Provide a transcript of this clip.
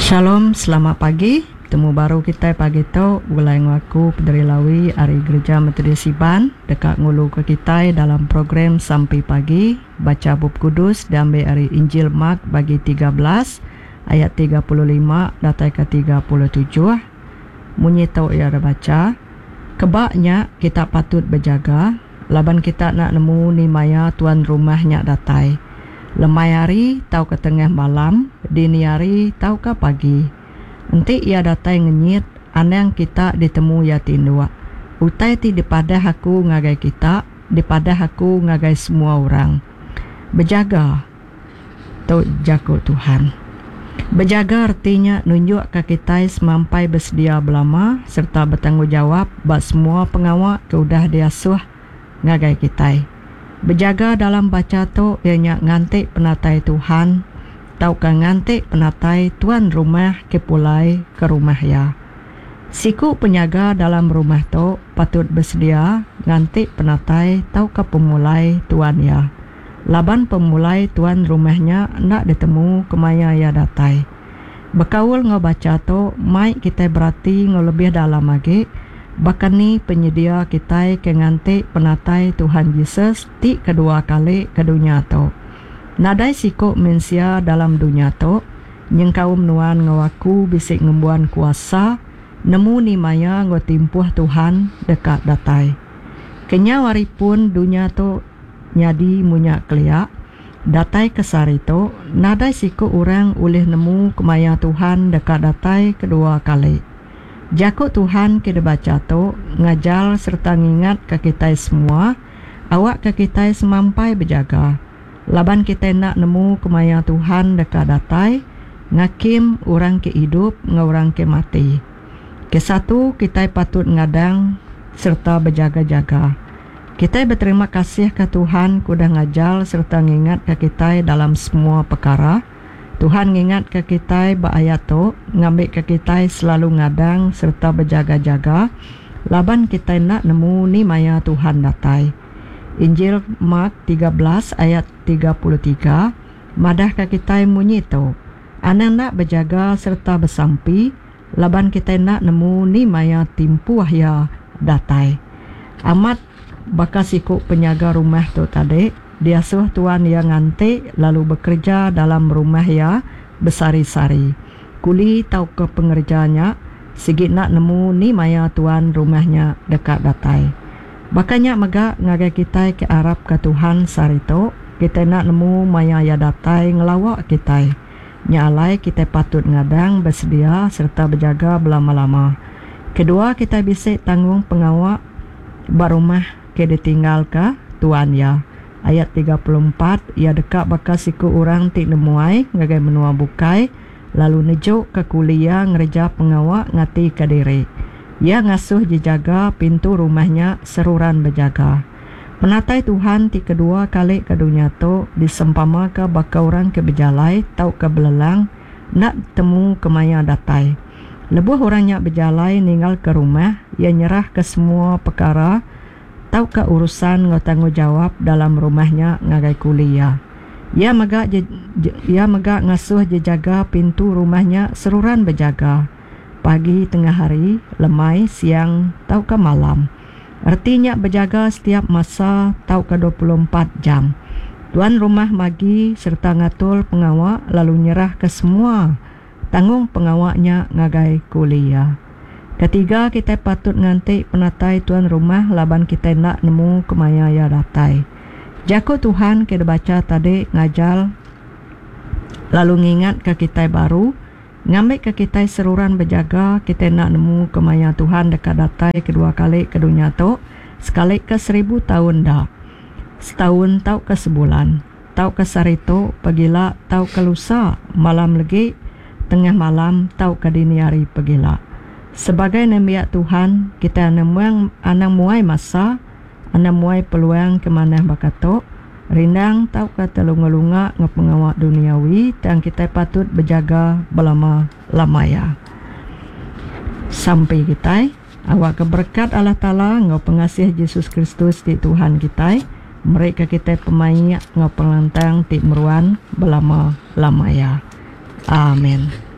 Shalom selamat pagi betemu baru kitai pagi tu begulai enggau aku Pederi Lawi ari Gereja Methodist Iban deka nguluka kitai dalam program Sampi Pagi bacha Bup Kudus diambi ari Injil Mark bagi 13 ayat 35 datai ke 37 munyi tu iya dibacha Keba nya kita patut bejaga laban kita enda nemu ni maya tuan rumah nya datai, lemai hari tauka tengah malam, dini hari tauka pagi. Enti iya datai ngenyit, anang kita ditemu iya tinduk. Utai ti dipadah aku ngagai kita, dipadah aku ngagai semua orang. Bejaga! Tu jaku Tuhan. Bejaga reti nya nunjukka kitai semampai besedia belama sereta betanggungjawap ba semua pengawa ke udah diasuh ngagai kitai. Bejaga dalam bacha tu iya nya nganti penatai Tuhan tauka nganti penatai tuan rumah ke pulai ke rumah iya. Siku penyaga dalam rumah tu patut besedia nganti penatai tauka pemulai tuan iya. Laban pemulai tuan rumah nya enda ditemu kemaya iya datai. Bekaul enggau bacha tu mai kitai berati enggau lebih dalam agi baka ni penyedia kitai ke nganti penatai Tuhan Jesus ti kedua kali ke dunya tu. Nadai siku mensia dalam dunya tu, nyengkaum nuan enggau aku bisi ngembuan kuasa nemu ni maya enggau timpuh Tuhan deka datai. Kenyau ari pun dunya tu, Nyadi munya kelia, datai ke sehari tu, nadai siku orang ulih nemu kemaya Tuhan deka datai kedua kali. Jaku Tuhan ke dibacha tu ngajar sereta ngingatka kitai semua awakka kitai semampai bejaga, laban kitai enda nemu kemaya Tuhan deka datai ngakim orang ke idup enggau orang ke mati. Kesatu, kitai patut ngadang sereta bejaga-jaga. Kitai beterima kasihka Tuhan ke udah ngajar sereta ngingatka kitai dalam semua pekara. Tuhan ngingatka kitai ba ayat tu ngambika kitai selalu ngadang sereta bejaga-jaga laban kitai enda nemu ni maya Tuhan datai. Injil Mark 13 ayat 33 madahka kitai munyi tu, Anang enda bejaga sereta besampi, Laban kitai enda nemu ni maya timpuh iya datai. Amat baka siku penyaga rumah tu tadi, diasuh tuan iya nganti lalu bekereja dalam rumah iya besehari-sehari. Kuli tauka pengereja nya sigi enda nemu ni maya tuan rumah nya deka datai. Baka nya mega ngagai kitai ke arapka Tuhan sehari tu, kitai enda nemu maya iya datai ngelawa kitai. Nya alai kitai patut ngadang, besedia sereta bejaga belama-lama. Kedua, kitai bisi tanggung pengawa ba rumah ke ditinggalka tuan iya. Ayat 34, Iya deka baka siku orang ti nemuai ngagai menua bukai lalu nejuka kuli iya ngereja pengawa ngatika diri. Iya ngasuh jejaga pintu rumah nya seruran bejaga. Penatai Tuhan ti kedua kali ke dunya tu disempamaka baka orang ke bejalai tauka belelang enda temu kemaya datai. Lebuh orang nya bejalai ninggalka rumah, iya nyerahka semua pekara tauka urusan enggau tanggungjawap dalam rumah nya ngagai kuli iya. Iya mega iya mega ngasuh jejaga pintu rumah nya seruran bejaga, pagi, tengah hari, lemai, siang tauka malam. Reti nya bejaga setiap masa tauka 24 jam. Tuan rumah magi sereta ngatur pengawa lalu nyerahka semua tanggung pengawa nya ngagai kuli iya. Ketiga, kitai patut nganti penatai tuan rumah laban kitai enda nemu kemaya iya datai. Jaku Tuhan ke dibacha tadi ngajar lalu ngingatka kitai baru Ngambika kitai seruran bejaga, kitai enda nemu kemaya Tuhan deka datai kedua kali ke dunya tu, sekalika seribu taun enda, setaun tauka sebulan, tauka sehari tu, pagila tauka lusa, malam legi, tengah malam tauka dini hari pagila. Sebagai nembiak Tuhan, kitai anang anang muai masa, anang muai peluang ke manah baka tu, Rindang tauka telunga-lunga enggau pengawa duniawi tang kitai patut bejaga belama-lama iya. Sampi kitai, awakka berekat Allah Taala enggau pengasih Jesus Kristus ti Tuhan kitai merika kitai pemaik enggau pengelantang ti meruan belama-lama iya. Amen.